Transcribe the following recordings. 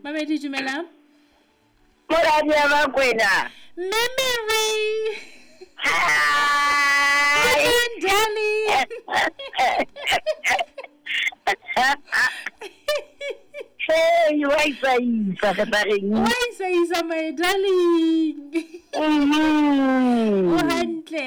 Mamedi dumela. Moradi ya Bakwena. Mme Mary. Hi. Darling. Hey, wa isa isa re tla reng? Wa isa isa my darling. Mhm. O hantle.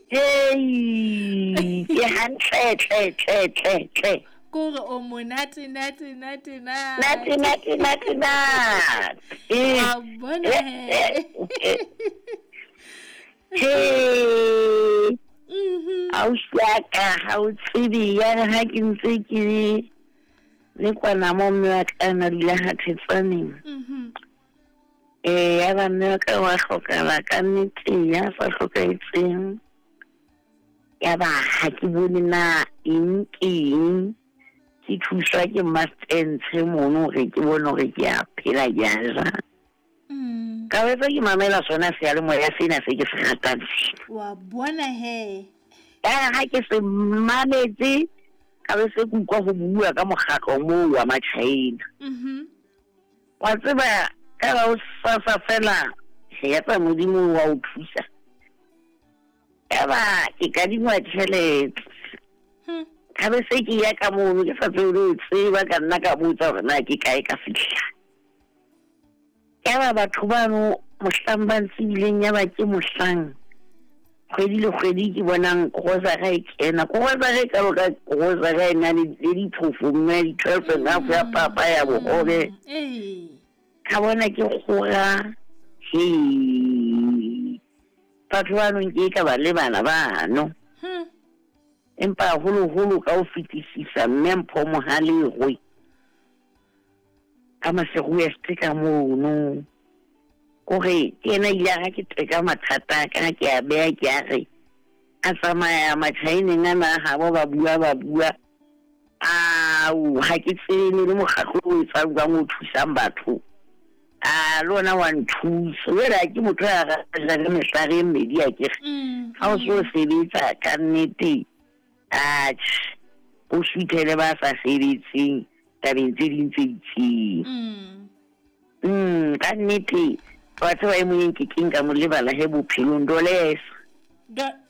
Hey, ke hantle tle tle tle tle. Kore o monate nate nate nate. Nate nate nate nate. Wa bona he. Hey. Mhm. Ausi ya ka ha o tsebe ya re ha ke ntse ke le kwana mo mme wa ka na dula ha Thetsaneng. Mhm. Eh ya ba mme wa ka wa hlokala ka nnete ya sa hlokahetseng. Ya ba ha ke bone na eng ke eng. Ke thuswa ke Mastentshe mono hore ke bone hore ke a phela ke a ja. Mm. Ka wetsa ke mamela sona seyalemoya sena se ke se ratang sena. Wa bona he. Ya ha ke se mametse ka be se ke utlwa ho bua ka mokgatlo moo wa Machina. Mhm. Wa tseba ka la o sasa fela ya tsa Modimo wa o thusa. Ya ba ke kadingwa tjhelete. Ka be se ke ya ka mono ke sa tsebe le ho tseba ka nna ka botsa hore na ke kae ka fihla. Ya ba batho bano mohlang ba ntsebileng ya ba ke mohlang kgwedi le kgwedi ke bonang grocery e kena. Grocery e kalo ka grocery e na le diphofo mme di-12 and half ya papa ya bohobe. Ee. Ka bona ke kgora he. Batho bano nke ka ba lebala bano. Empa haholoholo ka ho fetisisa Mme Mpho Mohalegwe ka Maseru West ka mono. Kore ke yena ile a ha ke teka mathata a ka ke a beha ke a re a tsamaya Machineng ana a habo ba bua ba bua ao ha ke tsebe le mokgatlo o etsang jwang o thusang batho a le ona wa nthusa jwale ha ke motho ya ratang ka mehlare e mmedi akere ha o so sebetsa ka nnete atjhe o suthele ba sa sebetseng tabeng tse ding tse itseng. Ka nnete wa tseba e mong e nkekeng ka mo lebala he bophelong Dolesa.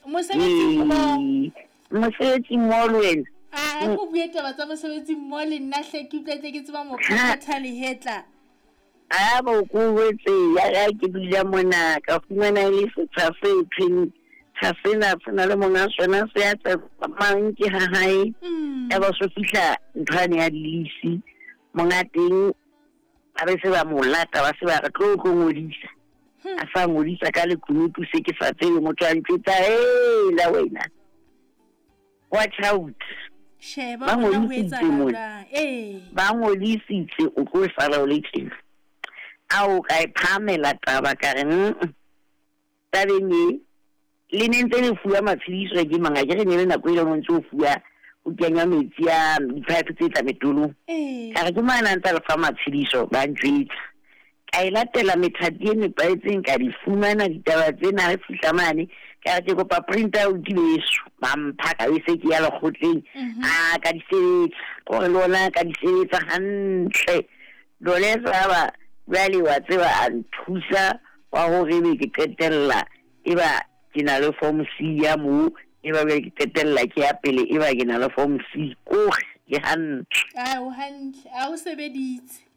Mosebetsi mmoho. Mosebetsi mmoho le wena. A ko bue taba tsa mosebetsi mmoho le nna hle ke utlwa tle ke tseba mo phaphatha lehetla. A ba o ko jwetse ya ka ke dula mona ka fumana e le setsha se thweng tsha sena se na le monga sona se a tsamang ke ha hae. Ya ba so fihla nthwane ya dilisi monga teng ba be se ba mo lata ba se ba re tlo tlo ngodisa. A sa ngodisa ka lekunutu se ke sa tsebe motho a ntjwetsa hela wena. Watch out. Sheba Ba hore na ho ngodisitse etsahala mona. jwang. Ee. Ba ngodisitse o tlo sala o le tjena. Ao ka e phahamela taba ka re mm tabeng e le ne ntse le fuwa matshediso ke mang akere ne le nako e leng o ntse o fuwa o kenywa metsi a di-pipe tse tla metolong. Ee. Ka re ke mang a ntse a le fa matshediso ba ntjwetsa. Ka e latela methati e nepahetseng ka di fumana ditaba tsena re fihla mane ka re ke kopa print out beso ba mpha ka be se ke ya lekgotleng a ka di sebetsa kore le ona ka di sebetsa hantle Dolesa ba jwale wa tseba a nthusa wa hore ebe ke qetella e ba ke na le form C ya moo e ba jwale ke qetella ke ya pele e ba ke na le form C kore ke hantle. A o hantle a o sebeditse.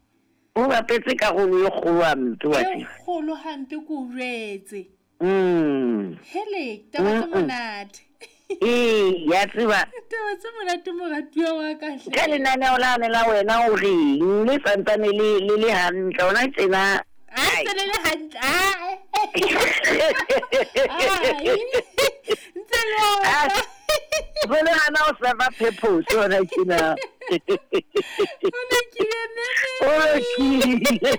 O bapetse karolo e kgolo hampe wa E tseba. kgolo hampe ke o jwetse. Hele, taba tse monate. Ee, ya tseba. Taba tse monate moratuwa wa ka hle. Ka lenaneo lane la wena o reng le santsane le le le hantle ona tsena. A ntse le le hantle. Ai. Ai. Ntse le ona. Jwale hana o serve purpose ona tjena. O lokile mme. O lokile.